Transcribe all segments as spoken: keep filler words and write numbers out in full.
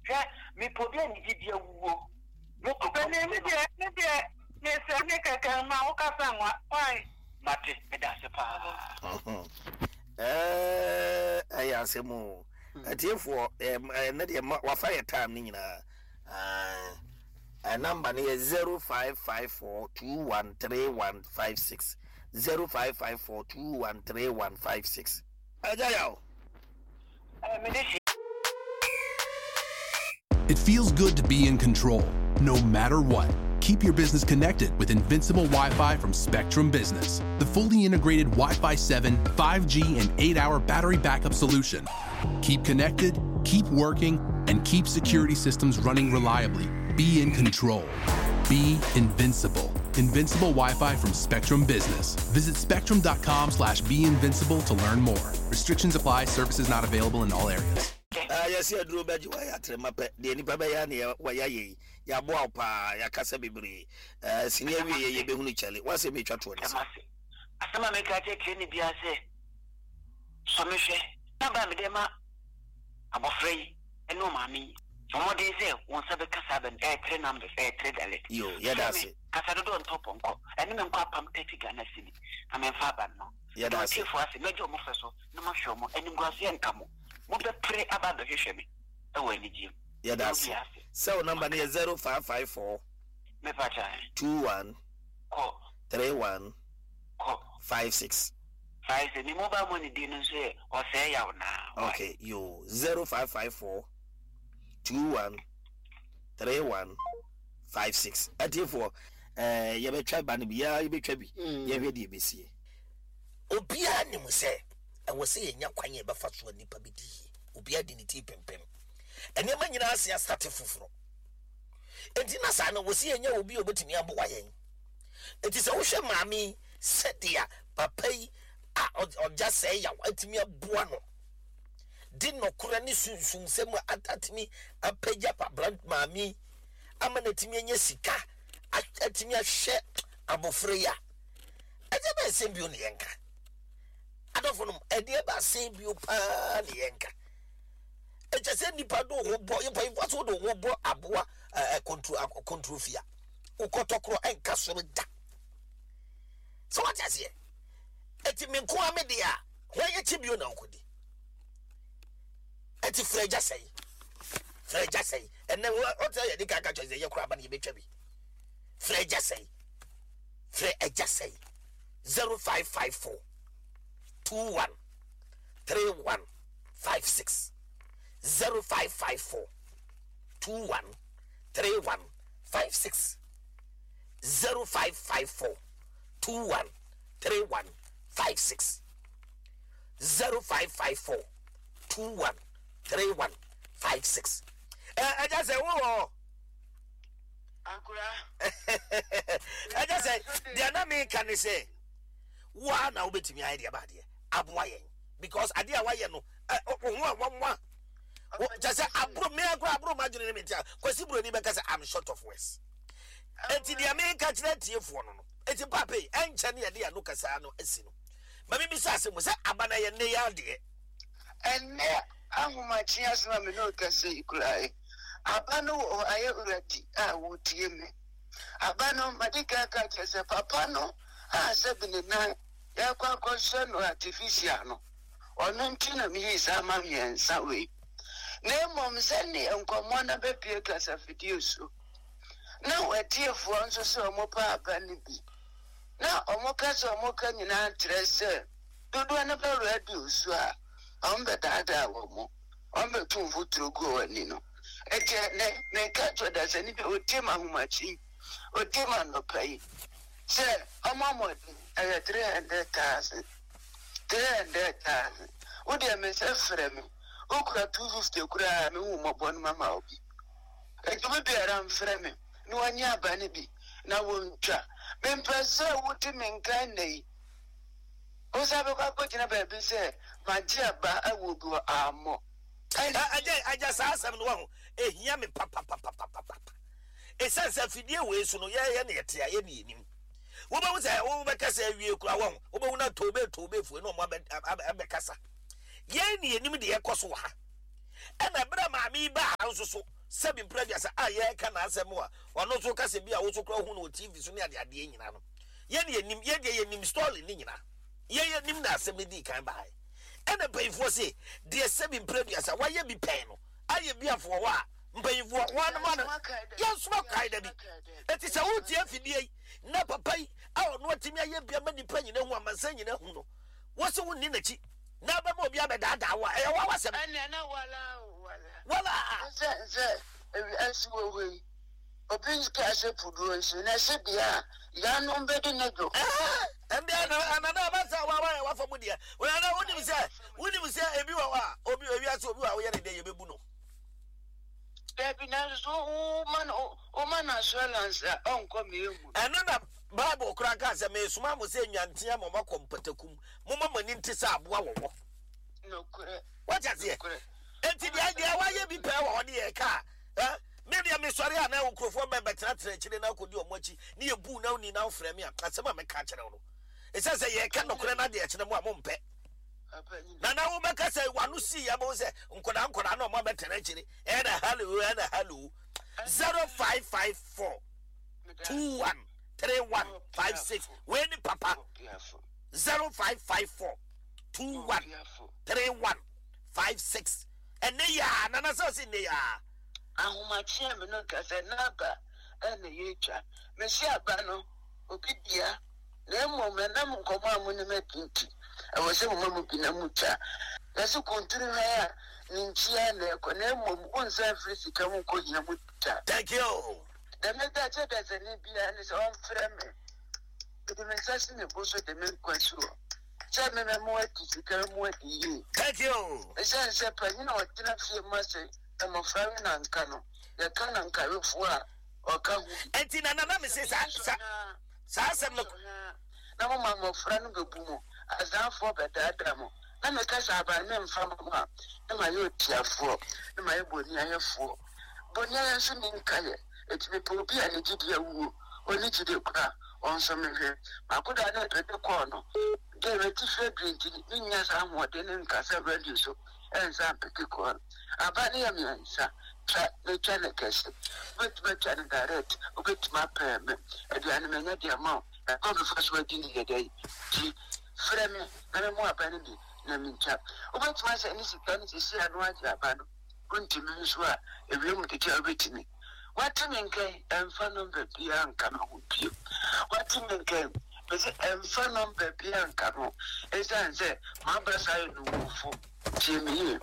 Hwɛ, mepɛ obi a ne gyidi awuo. Moto Ɔpanin, me deɛ, me deɛ, mesrɛ ne kɛkɛ ma wo kasa nwa. Why? Mate, meda ase paa. Ɛyɛ asɛm o. Atiefoɔ, ɛnɛ deɛ wafa yɛ time no nyinaa. Number no yɛ zero five five four two one three one five six zero five five four two one three one five six. Ɛgya yaw. It feels good to be in control, no matter what. Keep your business connected with Invincible Wi-Fi from Spectrum Business, the fully integrated Wi-Fi seven, five G, and eight-hour battery backup solution. Keep connected, keep working, and keep security systems running reliably. Be in control. Be invincible. Invincible Wi-Fi from Spectrum Business. Visit spectrum dot com slash be invincible to learn more. Restrictions apply. Services not available in all areas. Yɛsɛ aduro bɛgye wayɛ atrema pɛ deɛ nipa bɛyɛ ne wɔyɛ yɛ yi, yɛaboa wo paa, yɛakasa bebree. Sini awie yɛ yɛbɛhunu kyɛle woasɛ metwa toɔ ne sɛ asɛm a meka kyerɛ ne biara sɛ sɔ me hwɛ na ba mede ma abɔfra yi ɛne ɔmaame yi, ɔmmɔden sɛ wo nsa bɛka saa bɛ no. Ɛyɛ three numbers, ɛyɛ three dialect. Yo, yɛda ase. Kasa dodoɔ ntɔ pɔnkɔ ɛne me nkɔ apam thirty Ghana cedi na memfa aba no. Yɛda ase. Ɔtiefoɔ ase, mɛgye ɔmo fɛ so na mahwɛ ɔmo animguaseɛ nka mo, mobɛpere aba abɛhwehwɛ me ɛwɔ anigyeɛ mu. Yɛda ase. Sɛ wo number no yɛ zero five five four Mepa kyɛ. two one kɔ three one kɔ five six. Five six. Me mobile money din no nso yɛ Ɔsɛe Yaw naa. Okay, yo, zero five five four two one three one five six. Atiefoɔ, ɛɛ yɛbɛtwa ba no bi, yɛa yɛbɛtwa bi, yɛhwɛ deɛ ɛbɛsie. Obiara nim sɛ ɛwɔ sɛ yɛnya kwan yɛ bɛfa so a nipa bɛdi yie. Obiara di ne ti pempem, nneɛma nyinaa ase asate foforɔ, enti na saa no wɔ sɛ yɛnya obi a obɛtumi aboa yɛn. Enti sɛ wohwɛ maame yi, sɛdeɛ papa yi a ɔgya sɛe yaw atumi aboa no de nɔkorɛ ne sunsumsɛm a atumi apagya pabra maame yi ama no atumi anya sika, atumi ahwɛ abɔfra yi a, ɛdeɛ bɛn sɛm bio ne yɛnka? Adɔfo nom, ɛdeɛ bɛ asɛm bio paa ne yɛnka? Ɛkyɛ sɛ nipa de wo ho bɔ mpanyinfoɔ so, wode wo ho bɔ aboa ɛɛ kontro kontrofia, wokɔtɔ korɔ ɛnka soro da sɛ wate aseɛ. Ɛti me nko a me deɛ a wɔn yɛ kyi bio na wokɔdi. Ɛti frɛ agya sɛyi, frɛ agya sɛyi. Ɛnɛ ɔtɛ yɛ de kaka kyerɛ sɛ yɛ kora aba no, yɛbɛtwa bi. Frɛ agya sɛyi, frɛ agya sɛyi, zero five five four two one three one five six, zero five five four two one three one five six, zero five five four two one three one five six, zero five five four two one three one five six. Ɛ ɛgya sɛ wo wɔ Ankora. Ɛgya sɛ deɛ na meka ne sɛ woa na wobɛtumi ayɛ deɛ baadeɛ aboa yɛn, because adeɛ a wayɛ no, ɛ wo ho a wanwa kyɛ sɛ aboro me akora, aboro ma adwene ne me ntia. Kwasi Buroni bɛka sɛ I'm short of words. Enti deɛ meka kyerɛ tiefoɔ no no enti pape ɛnkyɛ ne yɛde ano kasaa no asi no ma mebisa asɛm mu sɛ aba no yɛ nnɛ yɛ adeɛ. Ɛnnɛ ahomakye asɛm a me ne wo kasa yi koraa yi, aba no wɔ hɔ ayɛ ready a wotie me. Aba no, made kan ka kyerɛ sɛ papa no a sɛbi ne nan yɛkɔ akɔhyɛ no artificial no, ɔno nti na meyii saa ma mmiɛnsa wei. Na mmom sɛneɛ nkɔmmɔ no bɛpie kasafidie so na watiefoɔ nso sɛ ɔmo pa aba no bi na ɔmo ka sɛ ɔmo ka nyinaa kyerɛ sɛ dodoɔ no bɛ radio so a, ɔmo bɛdaadaa wɔ mo, ɔmo bɛtu mfuturo gu wɔn ani no. Ɛti ɛnɛ meka kyerɛ dasani bi a otie ma ahomakye, otie ma anɔpa yi sɛ ɔmo amɔden ɛyɛ three hundred thousand, three hundred thousand. Wodeɛ me sɛ frɛ me, wokura two fifty koraa, mehu mmɔbɔ no mama wo bi. Eti obi biara mfrɛ me na wɔnyɛ aba no bi na wɔntwa. Mempɛ sɛ wote me nka nna yi wosa bɛkɔ akɔgyina baabi sɛ magye aba awɔ bi wɔ ammɔ. Agya, agya, saa asɛm no waho ehia me papapapapapa, ɛsiane sɛ afidie wei so no yɛyɛ ne yɛte a yɛne yɛnim. Wobɛhu sɛ wobɛka sɛ awie kora waho, wobɛhu na tobe tobe fue na ɔmo abɛkasa. Yɛn ne yɛnim deɛ ɛkɔ so wɔ ha, ɛna berɛ a maame yi baa ha nso so Sɛbi mpere aduasa a yɛreka n'asɛm a ɔno nso kasa bi a woso kora hu no wɔ T V so ne adeadeɛ nyinaa no, yɛn yɛnim, yɛn deɛ yɛnim story ne nyinaa, yɛn yɛnim na asɛm no dii kan baeɛ. Ɛna mpanyinfoɔ se deɛ sɛbi mpere aduasa wayɛ bi pɛn no ayɛ bi afoɔ hɔ a mpanyinfoɔ wɔn anoma no yɛnsoma kae da bi. Eti sɛ wotie afidie yi na papa yi a ɔno atumi ayɛ bi ama nipa nyina hu, amansan nyina hu no, wɔsi wo nni n'akyi na abɛma obi abɛdaadaa wo a, ɛyɛ wawa sɛm. Ɛnna na wala o wala. Wala. Sɛ sɛ ewi asi wɔ hɔ yi, obi nka sɛ puduo nso na ɛsɛ bea a yanom bɛdi ne do. Ɛnde ɛna na aba sɛ wawa yɛ wafa mu deɛ. Wɔn wonim sɛ wonim sɛ ebi wɔ hɔ a obi ewi ase obi wɔ a woyɛ ne deɛ yɛbɛbu no. Dabi na nso woma no woma no assurance a ɔnkɔ mmienu mu. Ɛno na Bible koraa ka sɛ mesoma mo sɛ nwantea ma moakɔ mpatakum, momma mo ani nte sɛ aboa wɔwɔ. Nokorɛ. Wate aseɛ? Enti deɛ deɛ wayɛ bi pɛɛ wɔ hɔ ne yɛ ka a, me deɛ mesɔre a na nkurɔfoɔ bɛ bɛtenatena akyire na akɔdi ɔmo akyi ne yɛbu na woni na wofrɛ me a, asɛm a meka kyerɛ wo no, ɛsiane sɛ yɛka nokorɛ no adeɛ kyerɛ mo a mompɛ. Na na wobɛka sɛ wano sii yɛ bɛwo sɛ nkɔdaa nkɔdaa na ɔmo abɛtena akyire ɛna hello ɛna hello. Zero five five four two one three one five six. Wei ni papa. Zero five five four two one three one five six. Ɛnɛ yaa nana sɛ ɔsi nnɛ yaa. Ahomakye mi no kasa n'aba ɛna yɛtwa. Mesi aba no obi bia na mmom ɛnam nkɔmɔ a mo ne mɛ nti ɛwɔ sɛ mo ma mo bi na mo twa. Yɛsi kunturu ha a ne nkyia na ɛkɔ na mmom wo nsa afiri sika mu nkɔ hia mu twa. Thank you. Dɛm da kyɛ dasani bia ne sɛ ɔmfrɛ me. Mede me nsa si me bo so de me nkwa si hɔ. Sɛ me mɛ mo adi sika mu adi yie. Thank you. Ɛsiane sɛ panyin a ɔtena fie mu ase mmɔfra we nanka no, yɛka nankawefoɔ a ɔka ho bi. Enti na nana me se saa saa saa asɛm no. Na mo ma mmɔfra no bɛbu mo, azaafoɔ bɛdaadaa mo. Na meka sɛ aban me mfa mo a, na mayɛ otiafoɔ, na mayɛ boniayɛfoɔ. Boniayɛ nso ne nkayɛ. Eti mepɛ obi a ne gyidi awuo, ɔne gyidi kora, ɔnso mehwɛ. Makoda ne pɛde kɔɔ no, deɛ meti fɛ dure nti, menya saa ahoɔden ne nkasa radio so, ɛnsa mpete kɔɔ no. Aba ne yɛ mmiɛnsa, twa ne twa ne kɛse. Wobɛtumi atwa ne direct, wobɛtumi apɛɛ me. Aduane manya deɛ ma wo, ɛkɔ mefa so adi ne yɛ dɛ ti. Frɛ me, na me mu aba no bi, na mentwa. Wobɛtumi ahyɛ ne sika ne sisi ano agye aba no. Wontumi nso a, ewiem tete a wobɛtumi. Wate me nkɛn, ɛmfa nɔmba biara nka me ho bio. Wate me nkɛn, mese ɛmfa nɔmba biara nka me ho. Ɛsiane sɛ m'aba saa yɛ nunkufoɔ. Tie me yie.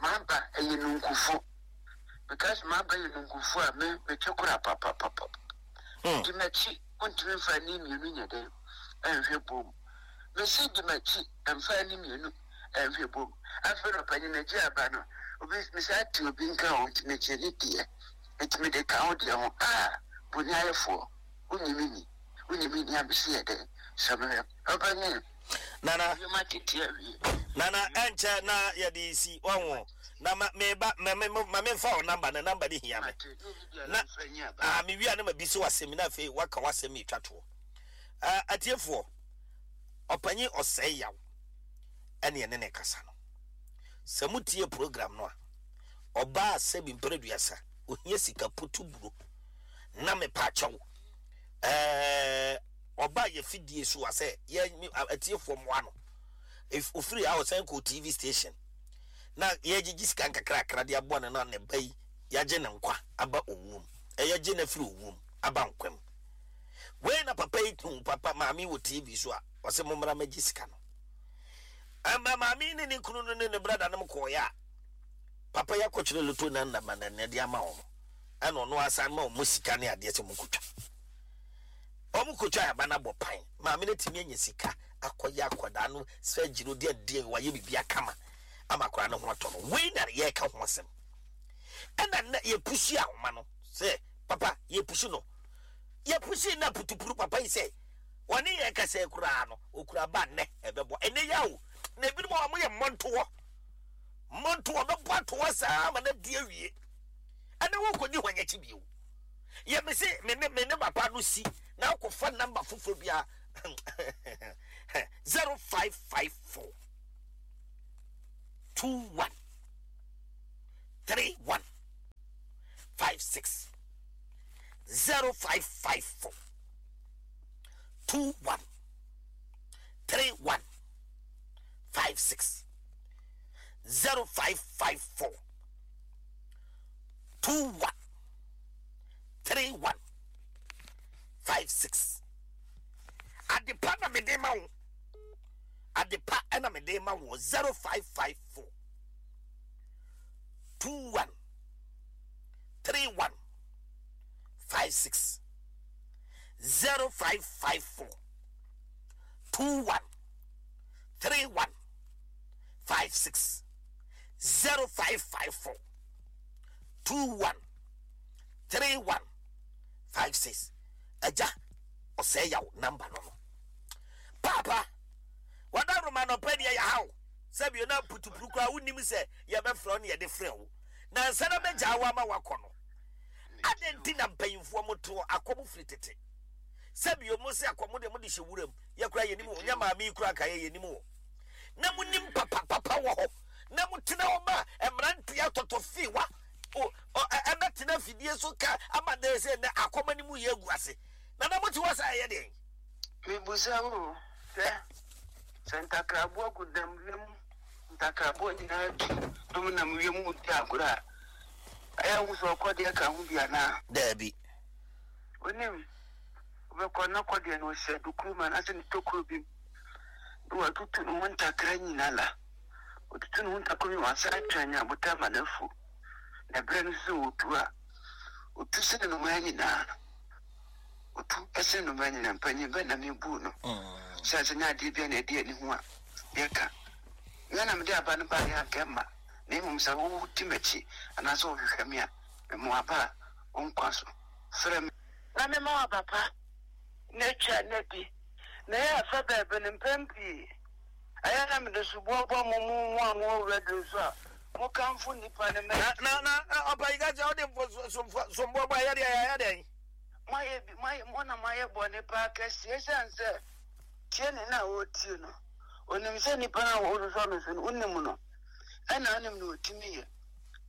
M'aba ɛyɛ nunkufoɔ. Because m'aba yɛ nunkufoɔ a me metwe kora papapapa. Di m'akyi, wontumi mfa ani mmienu nyɛ dɛn ɛnhwɛ bom. Mese di m'akyi, ɛmfa ani mmienu ɛnhwɛ bom. Afei na ɔpanyin agye aba no, obi mese ate obi nka ho nti megye ne deɛ. Nti mede ka ho deɛ ho. Ah, boniayɛfoɔ, wonyi me ni. Wonyi me ni a mese yɛ dɛn? Sɛ mehwɛ. Ɔpanyin. Nana. Yɛma tete awie. Nana, ɛnkyɛ na yɛde si wɔn. Na ma me ba ma me ma me nfa wo number na number ne hia me. Na ah me wia na ma bi so asɛm na afei waka wasɛm etwa toɔ. Ah atiefoɔ, ɔpanyin ɔsɛe yaw ɛne ɛne ne kasa no. Sɛ mutie program no a, ɔbaa sɛbi mpere duasa, ohia sika putu buro na me pa kyɛw. Eh ɔbaa yɛ fidie so asɛ yɛ atiefoɔ mmoa no. Ofiri a ɔsan kɔ T V station na yɛgyegye sika nkakrakra de aboa no na ne ba yi yɛagye ne nkwa aba owuom. Ɛyɛ gye na firi owuom aba nkwam. Wei na papa yi tu papa maame wɔ T V so a ɔsɛ mommra mɛgye sika no. Ama maame ne ne kunu no ne ne brada no kɔɔeɛ a papa yi akɔkyerɛ loto na nna ma na de ama wɔn. Ɛna ɔno asan ma wɔn sika ne adeɛ sɛ wɔn kotwa. Wɔn kotwa aba no abɔ pan. Maame no tumi anya sika akɔyɛ akwadaa no sɛ gyina odi adeɛ wayɛ biribi akama ama akwadaa no ho atɔ no. Wei na yɛreka ho asɛm. Ɛna na yɛpusi ahoma no sɛ papa yɛpusi no. Yɛpusi na putupuru papa yi sɛ wɔne yɛn kasa koraa no okura ba nnɛ ɛbɛbɔ. Ɛnɛ yɛ o. Na ebinom a wɔyɛ mmɔntoɔ. Mmɔntoɔ bɛbɔ atoɔ saa ma na di awie. Ɛna wɔkɔdi hɔ nyɛkyi bio. Yɛ me se me ne me ne papa no si na akɔfa namba foforɔ bi a zero five five four two one three one six zero five five four two one three one five six zero five five four two one three one five six. Adepa na mede ma wo, adepa ɛna mede ma wo zero five five four two one three one five six zero five five four two one three one five six zero five five four two one three one five six. Agya ɔsɛe yaw number no no paapa wada roma no pɛ deɛ yɛhaw sɛbio na putupuru koraa wonim sɛ yɛbɛfrɛ wo ne yɛde frɛ wo na nsa na bɛgyaa wo ama wakɔ no. Adɛn nti na mpanyimfoɔ motoɔ akɔm firi tete sɛbio mo se akɔm deɛ mode hyɛ wuram yɛkora yɛnim wɔ nyɛ maame yi koraa nka yɛ yɛnim wɔ na monim papapapa wɔ hɔ na motena hɔ ma mmeranteɛ atɔtɔ fiwa ɛbɛtena fidie so ka ama dɛ sɛ nɛ akɔm anim yɛ agu ase na na mote hɔ sɛ ɛyɛ deɛn? Mebusa wo sɛ sɛ ntakraboa gu dam wiem, ntakraboa nyinaa tu dom nam wiem di agorɔ a, ɛyɛ wo sɛ ɔkɔdeɛ ka ho bi anaa? Daabi. Onim, wobɛkɔ na kɔdeɛ no ɔhyɛ dukuru mu anaasɛ ne tokuro bi mu na watutu ne ho ntakra nyinaa la. Otutu ne ho ntakra nyinaa, wasan atwa nyabotan ma no afu. Na berɛ no nso sɛ ɔtu a, ɔtu sene nnomaa nyinaa. Otu ɛsene nnomaa nyinaa, mpanyin bɛ na mebu no. Sɛ sɛ nyɛ adeɛ bia na ɛde ani ho a, yɛka. Nyɛ na mede aba no baeɛ anka mma. Na mmom sɛ wodi m'akyi anaasɛ wohwehwɛ me a, mema aba a wo nkwa so. Frɛ me. Na mema wo aba pa na atwa na di. Na ɛyɛ afa baabi no mpɛn pii. Ɛyɛ na mede soboɔ bɔ mo mo mo a mowɔ radio so a mokamfo nnipa no ma. Na na na ɔpa yi ka kyerɛ wode somboɔ bɔ ɛyɛ deɛ ɛyɛ dɛn? Moayɛ bi moayɛ mo na moayɛ bɔne paa kɛseɛ ɛsiane sɛ tie ne na ɔretie no. Onim sɛ nnipa no a wɔsosɔ no so no wonim no. Ɛna wonim na ɔtumi yɛ.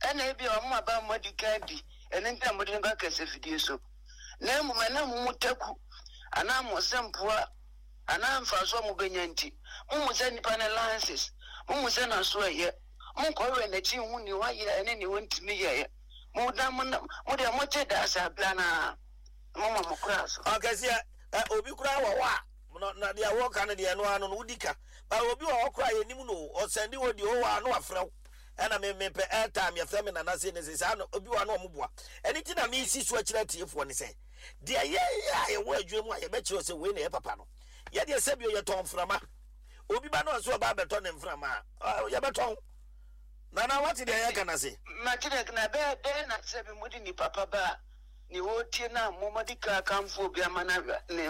Ɛna ebi a ɔmo aba mo adi kan di ɛno nti na mode no ba kɛse fidie so. Na mmom ɛnam mo mu taku anaa mo sɛmpoa anaa mfaso a mobɛnya nti momu sɛ nnipa no lances, momu sɛ n'aso ɛyɛ, monkɔhwɛ n'akyi nhu nea wayɛ ɛne nea wɔntumi yɛɛ. Mo deɛ mote daa saa bla naa moma mo koraa so. Ɔkɛseɛ obi koraa wɔ hɔ a na deɛ wɔka no deɛ no ano no wodi ka ba obi wɔ hɔ koraa yɛnim no ɔsɛnde wɔ deɛ ɔwɔ ano afrɛ wo ɛna me mepɛ airtime yɛfrɛ me nana se ne sɛ saa no obi wɔ ano ɔmo boa ɛne ti na mesi so akyerɛ atiefoɔ ne sɛ deɛ yɛyɛ a yɛwɔ adwuma mu a yɛbɛkyerɛ sɛ wei na ɛyɛ papa no yɛdeɛ sɛ bio yɛtɔn mframa obi ba no ɔso ɔba abɛtɔ ne mframa a yɛbɛtɔn nana wate deɛ yɛka na se mate deɛ na bɛɛ dɛn na sɛ bi mode nipa pa ba a ne wɔtie na momade ka kamfo obi ama na ne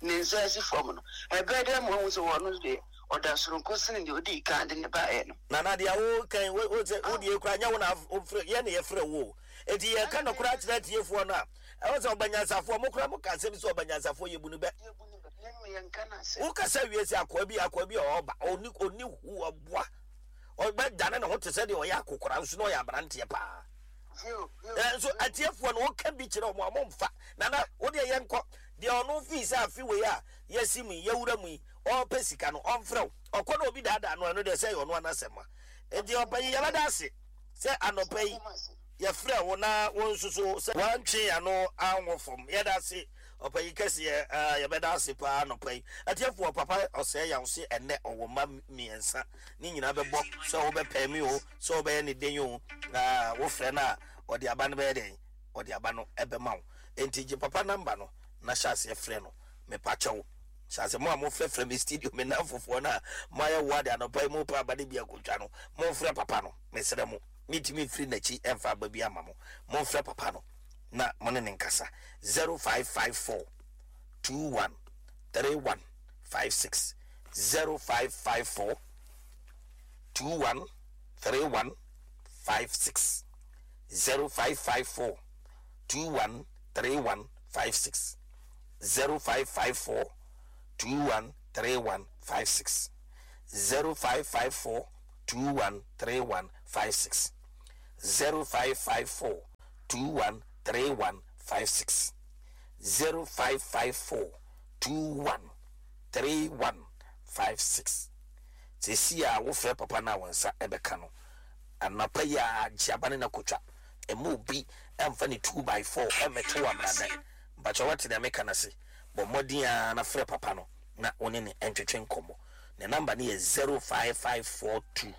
ne nsa asi fam no ɛbɛɛ dɛn mo ahu sɛ wɔno deɛ ɔda soronko sene deɛ ɔdii kan de ne baeɛ no. Nana deɛ wo kan wo wo sɛ wo deɛ kura nyɛ wo na wofrɛ yɛ ne yɛfrɛ wo eti yɛka no koraa kyerɛ atiefoɔ no a ɛwɔ sɛ ɔbanyansafoɔ mo koraa mo ka asɛm sɛ ɔbanyansafoɔ yɛbu no bɛ wokasa wie sɛ akoa bi akoa bi a ɔba ɔni ɔni hu ɔboa ɔbɛdane ne ho te sɛ deɛ ɔyɛ akokora nso na ɔyɛ aberanteɛ paa nso atiefoɔ no woka bi kyerɛ ɔmo a ɔmo mfa. Nana wo deɛ yɛnkɔ deɛ ɔno fii sɛ afe wei a yɛsi mu yi yɛwura mu yi ɔpɛ sika no ɔmfrɛ wo ɔkɔ na obi daadaa no ɛno deɛ sɛ yɛ ɔno anasɛm a nti ɔpɛ yi yɛbɛda ase sɛ anɔpɛ yi yɛfrɛ wo na wo nso so sɛ wantwe ano anwo fam yɛda ase ɔpɛ yi kɛseɛ yɛbɛda ase paa anɔpɛ yi. Atiefoɔ papa ɔsɛe yaw se ɛnɛ ɔwɔ mma mmiɛnsa ne nyinaa bɛbɔ sɛ wobɛpɛ mi o sɛ wobɛyɛ ne den o na wofrɛ no a ɔde aba no bɛyɛ dɛn ɔde aba no ɛbɛma wo enti gye papa namba no na hyɛ aseɛ frɛ no mepakyɛw hyɛ ase mo a mofrɛfrɛ me studio me namfofoɔ no a moayɛ wo ade anɔpa yi mopɛ aba no bi akotwa no momfrɛ papa no mesrɛ mo metumi mfiri n'akyi ɛmfa aba bi ama mo momfrɛ papa no na mo ne ne nkasa zero five five four two one three one five six zero five five four two one three one five six zero five five four two one three one five six zero five five four two one three one five six zero five five four two one three one five six zero five five four two one three one five six zero five five four two one three one five six. Sɛsi a wofrɛ papa no a, wo nsa ɛbɛka no anapa yi a gye aba ne na kotwa. Ɛma obi ɛmfa ne two by four ɛmɛto wɔ amrada mpakyɛ. Wate nea meka no ase? Bɔ mmɔden a na frɛ papa no na wo ne ne ɛntwetwe nkɔmmɔ. Ne number no yɛ zero five five four two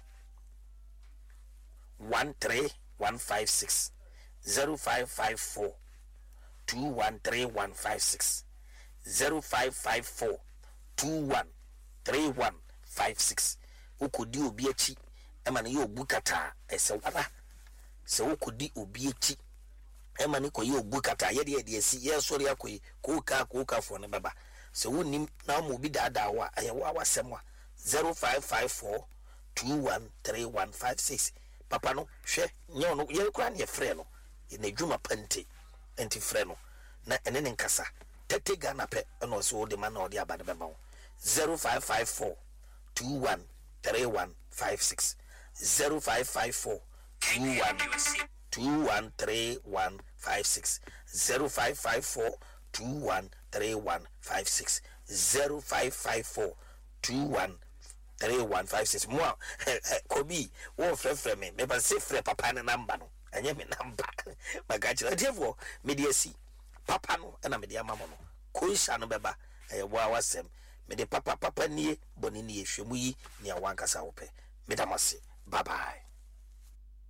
one three one five six zero five five four two one three one five six zero five five four two one three one five six. Wokɔdi obi akyi ɛma no yɛ obu kataa, ɛsɛ wara sɛ wokɔdi obi akyi ɛma ne kɔyɛ obu kataa. Yɛde yɛde asi yɛsɔre akɔ yi kookaa kookaafoɔ no bɛba sɛ wonim na woma obi daadaa wo a, ɛyɛ wo a wasɛm a. Zero five five four two one three one five six. Papa no, hwɛ, nyɛ ɔno yɛn koraa ne yɛfrɛ no n'adwuma pa nti nti frɛ no na ɛne ne nkasa. Thirty Ghana pɛ ɛna ɔsɛ wode ma na ɔde aba no bɛma wo. Zero five five four two one three one five six zero five five four two one two one three one five six zero five five four two one three one five six zero five five four two one three one five six. Mo a kɔbi wɔn frɛfrɛ me, mɛba se frɛ papa ne number no, ɛnyɛ me number. Maka kyerɛ atiefoɔ, mede asi papa no ɛna mede ama mo no. Konhyia no bɛba, ɛyɛ boa wasɛm. Mede papa papa nie, bɔne nie, hwɛ mu yi nea wankasa wopɛ. Meda mo ase, bye bye.